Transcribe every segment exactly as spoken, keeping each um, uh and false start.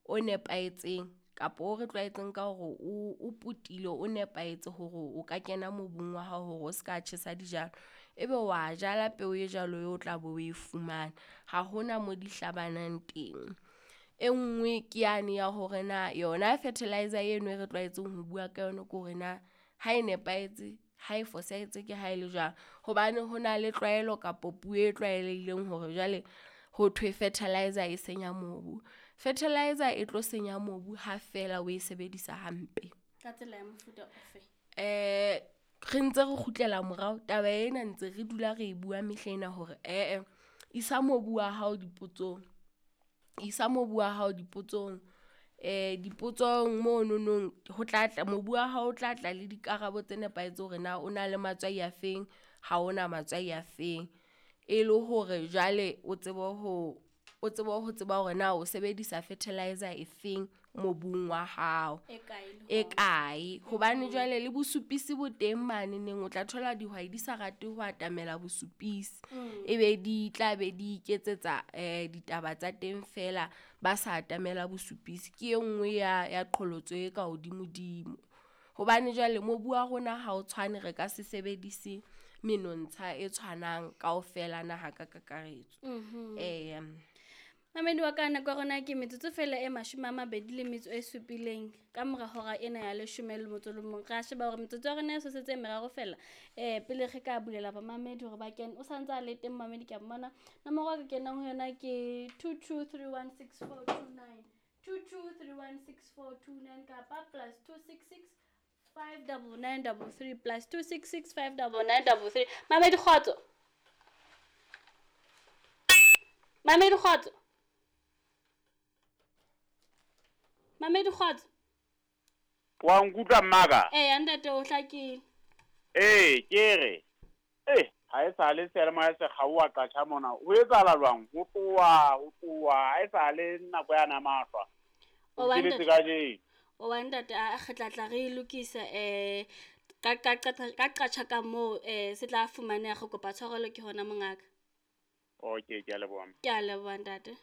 o nepahetseng kapa o re tlwaetseng ka hore o o potile o nepahetse hore o ka kena mobung wa hao hore o ska tjhesa dijalo. Ebe wa jala peo e jwalo eo o tla be o e fumana. Ha hona mo di hlabanang teng. E nngwe ke yane ya hore na yona fertilizer eno e re tlwaetseng ho bua ka yona ke hore na ha e nepahetse, ha e fosahetse ke ha e le jwang. Hobane ho na le tlwaelo kapo puo e tlwaelehileng hore jwale ho thwe fertilizer e senya mobu. Fertilizer e tlo senya mobu ha feela o e sebedisa hampe. Ka tsela ya mofuta ofe? Eh re ntse re kgutlela morao taba ena ntse re dula re bua mehlena hore ee isa mobu wa hao dipotsong. Isa mobu wa hao dipotsong. Eh dipotsong mono nong ho tla tla mobu wa hao o tla tla le dikarabo tse nepahetseng hore na o na le matswai a feng, ha ona matswai a feng. E le hore jwale o tsebe ho o tsebe ho tseba hore na o sebedisa fertilizer e feng mobung wa hao. E kae le E hona? kae? Hobane jwale le bosupisi bo teng mane neng o tla thola dihwai di sa rate ho atamela bosupisi. Mm. Ebe di tla be di iketsetsa eh ditaba tsa teng fela ba sa atamela bosupisi. Ke e nngwe ya ya qholotso e ka hodimo-dimo. Hobane jwale mobu wa rona ha o tshwane, re ka se sebedise menontsha e tshwanang kaofela naha ka kakaretso. Mhm. Eh Mamedi wa ka, nako ya rona ke metsotso fela e mashome a mabedi le metso e supileng ka mora hora ena ya leshome le motso le mong. Ra sheba hore metsotso ya rona e sosetse e meraro fela, eh pele re ka bulela bamamedi hore ba kene. O santse a le teng mamedi, ke a mmona. Nomoro e ka kenang ho yona ke two two three one six four two nine. two two three one six four two nine kapa plus two six six five double nine double three plus two six six five double nine double three. Mamedi kgotso. Mamedi kgotso. Mamedi kgotso. Wa nkutlwa mmaka? Eh, ntate o hlakile. Eh, ke re. Eh, ha e sale seyalemoya se kgaoha qatjha mona. Ho etsahala jwang? Ho tloha, ho tloha, ha e sale nako ya namahlwa. O wa O nteletse ntate. kajeno. O wa ntate, a re tla tla re lokisa eh ka ka ka ka qatjha ka moo eh se tla fumaneha. Re kopa tshwarelo ke hona mongaka. Okay, ke a leboha. Ke a leboha ntate.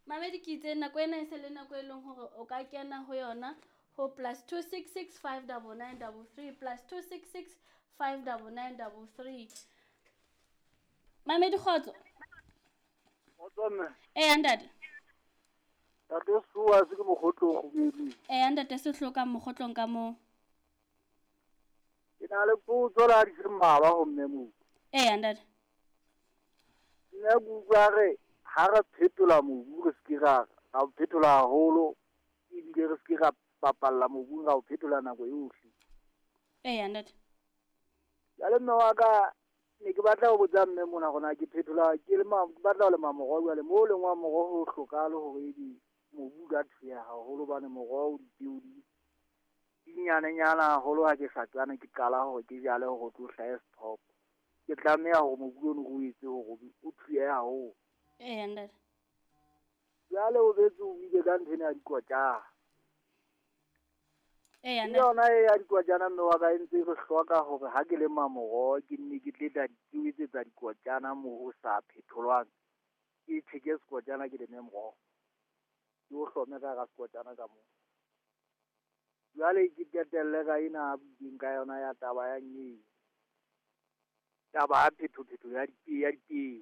Mamedi ke itse nako ena e se le nako e leng hore o ka kena ho yona ho plus two six six five double nine double three plus two six six five double nine double three. Mamedi kgotso. Kgotso mme. Eh, ntate. Ntate Sehloa se ke mokgotlo o kgubedung. Eh, ntate Sehloa ka mokgotlong ka moo. Ke na le potso la di se mmalwa ho mme moo. Eh, ntate. Nna ke utlwa re ha re phetola mobu re se ke ra, ra o phetola haholo, ebile re se ke ra bapalla mobung, ra o phetola nako yohle. Eh, ntate. Jwale mme wa ka, ne ke batla ho botsa mme mona hore na ke phetola, ke lema, ke batla ho lema moroho jwale, moo lengwang moroho ho hlokahale hore ebe mobu o ka thuya haholo hobane moroho o dipeo di, di nyanenyana haholo ha ke sa tsane ke qala hore ke jale hore o tlo hlahe sethopo. Ke tlameha hore mobu ono o etse hore o thuye haholo. Eh, ntate. Jwale o betse o buile ka ntho ena ya dikotjana. Eh, Ke ntate. yona e ya dikotjana mme wa ka e ntse re hloka hore ha ke lema moroho ke nne ke tle tla di etsetsa dikotjana moo ho sa phetholwang. Ke tjheke sekotjana ke leme moroho. Ke o hlome ka hara sekotjana ka moo. Jwale ke qetelle ka ena a buileng ka yona ya taba ya nyewe. Taba ya phethophetho ya dipeo, ya dipeo.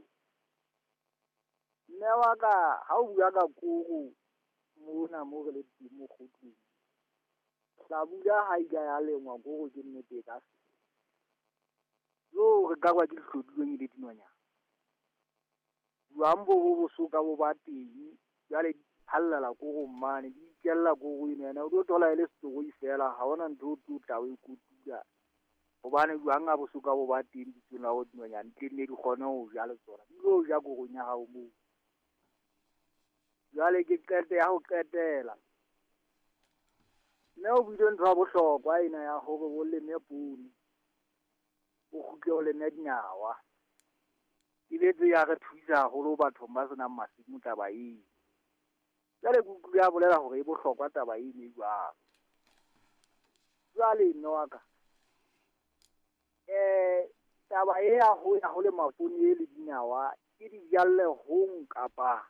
Mme wa ka, ha o bua ka koro mona moo re le teng mokgotlong, hlabula ha e ka ya lengwa koro ke nnete e ka se. Jo, re ka kwa ke dihlodilweng e le dinonyana. Jwang bo bo bosoka bo ba teng, jwale di phallela korong mane, di ikella koro ena, ena o tlo thola e le setoroi fela, ha hona ntho o tlo tla o e kotula. Hobane jwang ha bosoka bo ba teng bitsong la hore dinonyana di tle nne di kgone ho ja le tsona, di tlo ja korong ya hao moo. Jwale ke qete ya ho qetela. Mme o buile ntho ya bohlokwa ena ya hore o leme poone, o kgutle o leme dinawa. E betse ya re thusa haholo bathong ba senang masimo taba eo. Jwale ke utlwile a bolela hore e bohlokwa taba eno e jwalo. Jwale mme wa ka, eh, taba e ya ho ya ho lema poone e le dinawa, ke di jalle hong kapa